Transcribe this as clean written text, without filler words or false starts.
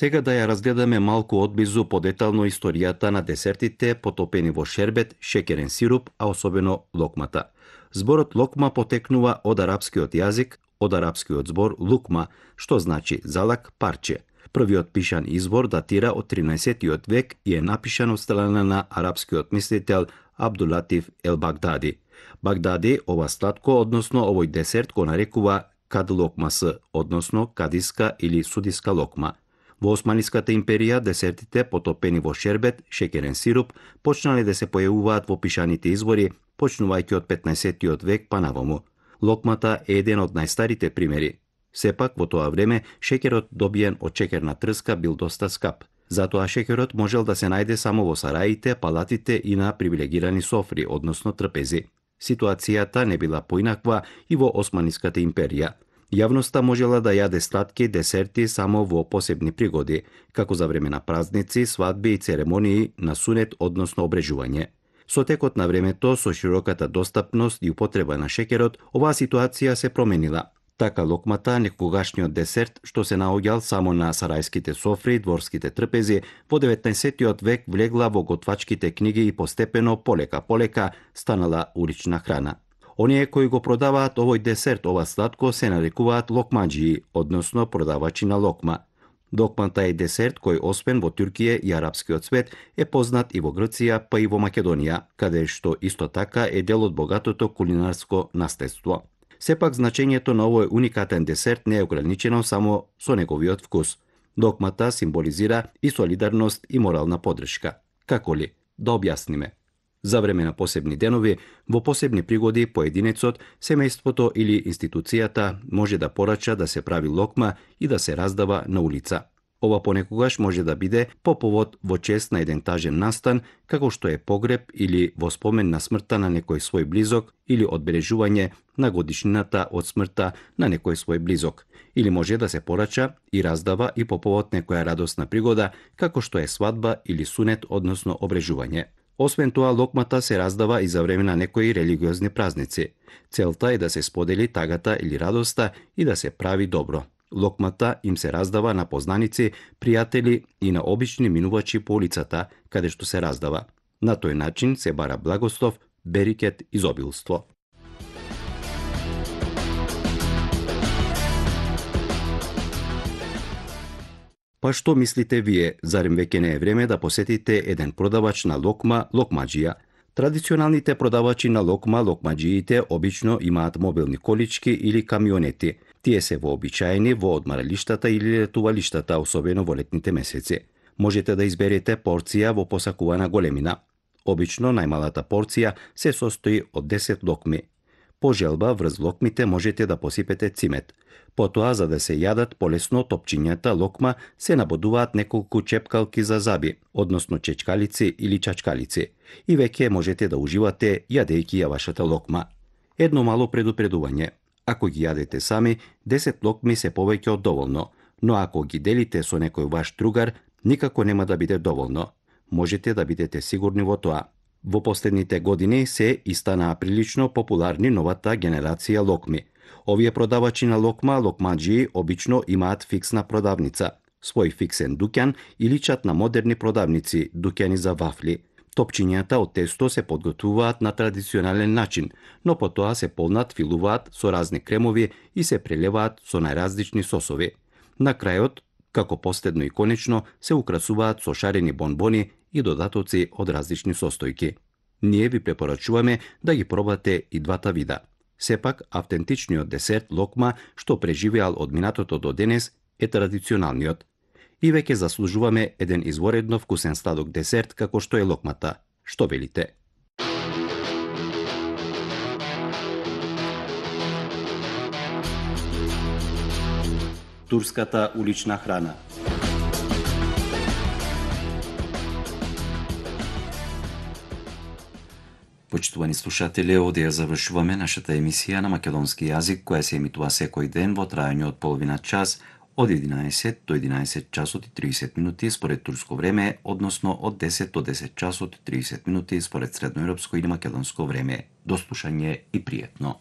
Сега да ја разгледаме малку одблизу подетално историјата на десертите потопени во шербет, шеќерен сируп, а особено локмата. Зборот локма потекнува од арапскиот јазик, од арапскиот збор лукма, што значи залак, парче. Првиот пишан извор датира од 13 век и е напишан од страна на арапскиот мислител Абдулатиф ел Багдади. Багдади ова сладко, односно овој десерт го нарекува кад локмасы, односно кадиска или судиска локма. Во Османиската империја десертите потопени во шербет, шеќерен сируп, почнале да се појавуваат во пишаните извори, почнувајќи од 15 век па наваму. Локмата е еден од најстарите примери. Сепак, во тоа време, шеќерот добиен од шеќерна трска бил доста скап. Затоа шеќерот можел да се најде само во сараите, палатите и на привилегирани софри, односно трпези. Ситуацијата не била поинаква и во Османиската империја. Јавноста можела да јаде сладки десерти само во посебни пригоди, како за време на празници, свадби и церемонии на сунет, односно обрежување. Со текот на времето, со широката достапност и употреба на шеќерот, оваа ситуација се променила. Така локмата, некогашниот десерт, што се наоѓал само на сарајските софри и дворските трпези, во 19 век влегла во готвачките книги и постепено, полека станала улична храна. Оние кои го продаваат овој десерт, ова сладко, се нарекуваат локмаџии, односно продавачи на локма. Локмата е десерт кој освен во Туркија и арапскиот свет е познат и во Грција, па и во Македонија, каде што исто така е дел од богатото кулинарско наследство. Сепак значењето на овој уникатен десерт не е ограничено само со неговиот вкус. Локмата символизира и солидарност и морална поддршка. Како ли? Да објасниме. За време на посебни денови, во посебни пригоди, поединецот, семејството или институцијата може да порача да се прави локма и да се раздава на улица. Ова понекогаш може да биде по повод во чест на еден тажен настан, како што е погреб или во спомен на смртта на некој свој близок или одбележување на годишнината од смртта на некој свој близок. Или може да се порача и раздава и по повод некоја радосна пригода, како што е свадба или сунет, односно обрежување. Освен тоа, локмата се раздава и за време на некои религиозни празници. Целта е да се сподели тагата или радоста и да се прави добро. Локмата им се раздава на познаници, пријатели и на обични минувачи по улицата, каде што се раздава. На тој начин се бара благослов, берикет, изобилство. Па што мислите вие, зарем веќе не е време да посетите еден продавач на локма, локмаџија? Традиционалните продавачи на локма, локмаџиите, обично имаат мобилни колички или камионети. Тие се вообичаени во одмаралиштата или летувалиштата, особено во летните месеци. Можете да изберете порција во посакувана големина. Обично најмалата порција се состои од 10 локми. По желба врз локмите можете да посипете цимет. Потоа, за да се јадат полесно топчињата локма, се набодуваат неколку чепкалки за заби, односно чечкалици или чачкалици, и веќе можете да уживате јадејќи ја вашата локма. Едно мало предупредување. Ако ги јадете сами, 10 локми се повеќе од доволно, но ако ги делите со некој ваш другар, никако нема да биде доволно. Можете да бидете сигурни во тоа. Во последните години се и станаа прилично популарни новата генерација локми. Овие продавачи на локма, локмаџии, обично имаат фиксна продавница, свој фиксен дуќан и личат на модерни продавници, дуќани за вафли. Топчињата од тесто се подготвуваат на традиционален начин, но потоа се полнат, филуваат со разни кремови и се прелеваат со најразлични сосови. На крајот, како последно и конечно, се украсуваат со шарени бонбони и додатоци од различни состојки. Ние ви препорачуваме да ги пробате и двата вида. Сепак, автентичниот десерт локма, што преживеал од минатото до денес, е традиционалниот. И веќе заслужуваме еден изворедно вкусен сладок десерт како што е локмата. Што велите? Турската улична храна. Почитувани слушатели, овде ја завршуваме нашата емисија на македонски јазик, која се емитува секој ден во трајање од половина час, од 11 до 11 часот и 30 минути според турско време, односно од 10 до 10 часот и 30 минути според средноевропско или македонско време. До слушање и пријатно.